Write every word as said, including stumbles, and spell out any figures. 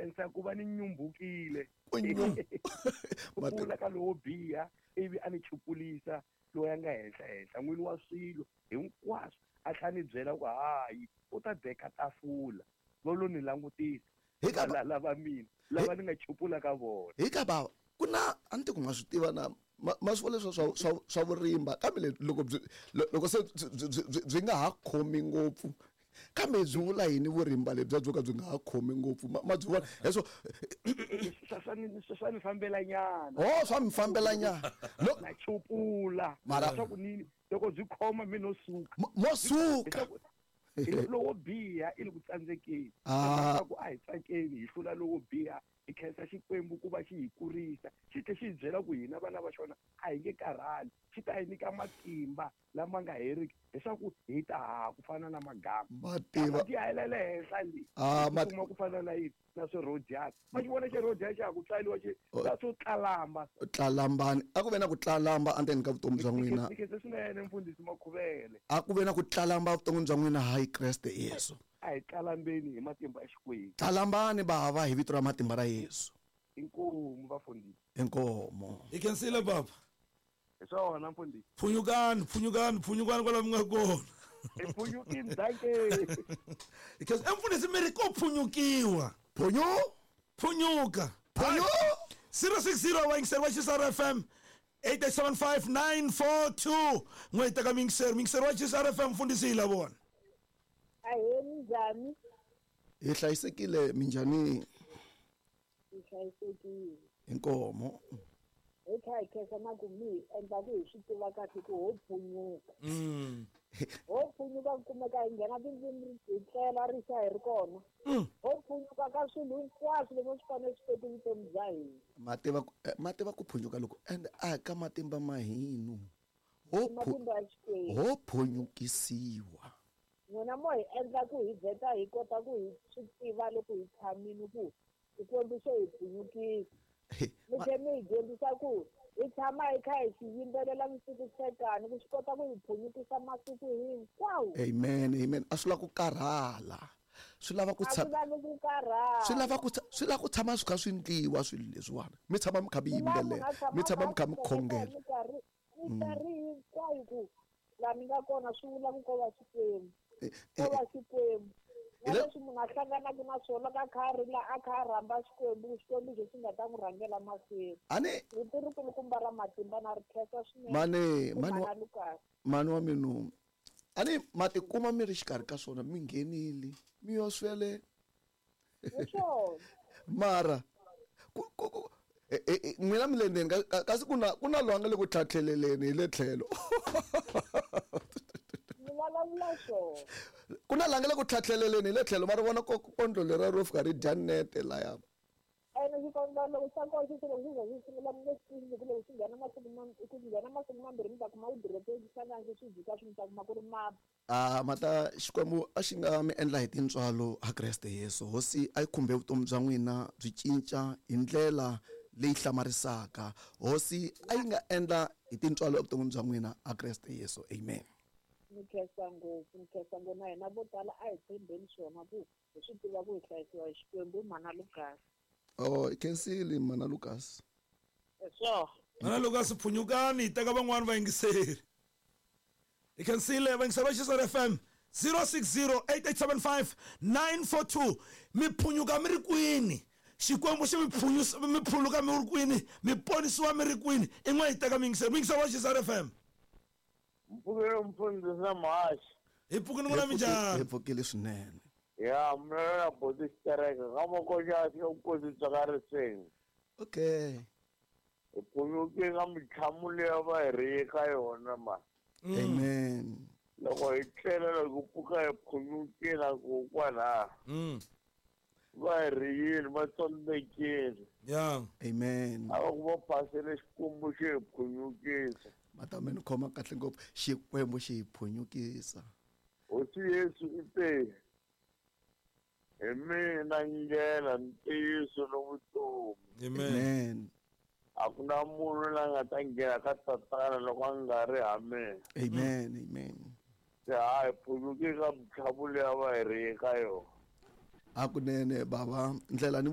khensa ku va ni nyumbukile. Ku nyum- Ku Mati- pfula ka lowo biha ivi a ni chupulisa loyi a nga henhla henhla n'wini wa swilo hinkwaswo a tlhela ni byela ku hayi u ta deka tafula va lo ni langutisa Hi ka ba- lava lava mina lava ni nga chupula ka vona. Hi ka bava ku na a ni ti ku ma swi tiva na ma ma swi vona leswa swa swa swa vurimba kambe le- loko byi lo- loko se byi- byi byi- byi nga ha khomi ngopfu kambe byi vula yini vurimba lebyiya byo ka byi nga ha khomi ngopfu ma ma byi vona heswo Swa swa ni swa swa ni fambela nyana. Oh, swa mi fambela nyana. Lo- Na chupula Mara- leswaku ni loko byi khoma mi no suka. Mo- mo suka. Leswaku hi lowo biha i le ku tsandzekeni. Ah. Leswaku a hi tsakeni hi hlula lowo biha hi khensa Xikwembu ku va xi hi kurisa xi tlhe xi hi byela ku hina vana va xona a hi nge karhali xi ta hi nyika matimba lama nga heriki leswaku hi ta haha ku fana na magama. Mativa. Ti ya le henhla le. Ah, Hi mat- kuma ku fana na yini na swirhodyana ma xi vona xirhodyana xa ha ku tswariwa xi Oh. ta swo tlalamba. Tlalambani a ku ve na ku tlalamba endzeni ka vutomi bya n'wina. Ni khensa swinene mfundhisi Makhuvele. A ku ve na ku tlalamba vuton'wini bya n'wina hayi Kreste Yesu. A hi tlalambeni hi matimba ya Xikwembu. Tlalambani bava hi vito ra matimba ra Yesu. Inkomu vafundhisi. Inkomo. Hi khensile baba. Hi swona mfundhisi. Phunyukani, phunyukani, phunyukani kwala mi nga kona. Hi phunyukini danke. Hi khensa. E mfundhisi mi ri ko phunyukiwa. Phunyu? Phunyuka. Phunyu? zero six zero wa yingiseri wa Xisara F M eight eight seven five nine four two. N'we hi teka miyingiseri. Miyingiseri wa Xisara F M mfundhisi hi la vona. Ahee, minjhani? Hi hlayisekile minjhani? Hi hlayisekile. Inkomo. Hi kha hi khensa na ku mi hi endla ku hi swi tiva kahle ku ho phunyuka. Mm. Ho phunyuka ku kumeka hi nghena tindzimi hi tlela ri xa hi ri kona. Mm. Ho phunyuka ka swilo hinkwaswo leswi swi fanele swi teki vutomi bya hina. Ma tiva ku, eh, ma tiva ku phunyuka loko and a ka matimba ma hinu. Ho I matimba ya Xikwembu. Ho phunyukisiwa. N'wina mo hi endla ku hi vheta hi kota ku hi swi tiva loko hi tshamile ku Xikwembu xo hi phunyukisa. Mi tlhe mi hi dyondzisa ku hi tshama hi kha hi xi yimbelela vusiku nhlekani ku xi kota ku hi phunyukisa masiku hinkwawo. Amen, amen. A swi lava ku karhala. Swi lava ku A swi tshama lavi ku karhala. Swi lava ku tsha-, swi lava ku tshama swi kha swi ndliwa swilo leswiwani. Mi tshama mi kha mi Swi lava yimbelela, munhu a tshama mi tshama mi kha mi a khongela. minkarhi, minkarhi hinkwayo ku laha mi nga kona swi vula ku ko va Xikwembu. Eh, Ko eh, va Xikwembu. Na Hi le- leswi munhu a hlanganaka na swona loko a kha a rila a kha a rhamba Xikwembu, Xikwembu xo xi nga ta n'wi rhangela mahlweni. Ani Rito ri kulukumba ra matimba na ri khensa swinene. Mane, Ku mane wa mhana Lucas. mane wa minu. Ani ma tikuma mi ri xikarhi ka swona mi nghenile mi yo swele. Hi swona. Mara ku, ku, ku, e, e, e, n'wina mi le ndzeni ka, ka, kasi ku na, ku na loyi a nga le ku tlhatlheleleni hi le tlhelo. Mi vulavula swona. Ku na la nga le ku tlhatlheleleni hi le tlhelo, ma ri vona ko-, kondlo leriya ro fika ri dya nete laya. Ene xikondlo loko xa kona xi loko xi za xi sungula mi nge swi tivi ku loko xi nghena masiku mam-, ku nghena masiku mambirhi mi ta kuma ku dirope xi hlangana xi jika swi mi ta kuma ku ri mapa. Ah, mata Xikwembu a xi nga mi endla hi tintswalo ha Kreste Yesu. Hosi a yi khumbe vutomi bya n'wina byi cinca hi ndlela leyi hlamarisaka. Hosi a yi nga endla hi tintswalo evuton'wini bya n'wina ha Kreste Yesu. Amen. Ni khensa ngopfu, ni khensa ngopfu na hina vo tala a hi tshembeni swona ku hi swi tiva ku hi hlayisiwa hi Xikwembu mhana Lucas. Oh, hi khensile mhana Lucas. Hi swona. Mhana Lucas phunyukani hi teka van'wani vayingiseri. Hi khensile vayingiseri va Xisara F M zero six zero eight eight seven five nine four two. Mi phunyuka mi ri kwini? Xikwembu xi mi phunyusa, mi phuluka mi ri kwini? Mi ponisiwa mi ri kwini? I n'we hi teka muyingiseri. Muyingiseri wa Xisara F M. Mpfukile mfundhisi na muhaxi. Hi pfukile n'wina Hi pfukile, minjhani? hi pfukile swinene. Ya, mina na boti xitereka ka makoxa ya vukosi bya ka Riseni. Okay. Hi phunyukile ka mintlhamu leyi va hi ri ka yona ma. Mm. Amen. Loko hi tlela loko pfuka hi phunyukile ku kwalaha. Mm. Va hi riyile, va tsondzekile. Yeah. Amen. A va ku va phasele Xikwembu xi hi phunyukisa. Mata mi ni khoma kahle ngopfu. Xikwembu xi hi phunyukisa. Hosi Yesu i te, hi mina ndlela, ntiyiso ni vutomi. Amen. Amen. A ku na munhu la nga ta nghena ka Tatana loko a nga ri ha mina. Amen, amen. Se ha hi phunyuke ka mintlhamu leyi a va hi ri ka yona. Hakunene bava, ndlela ni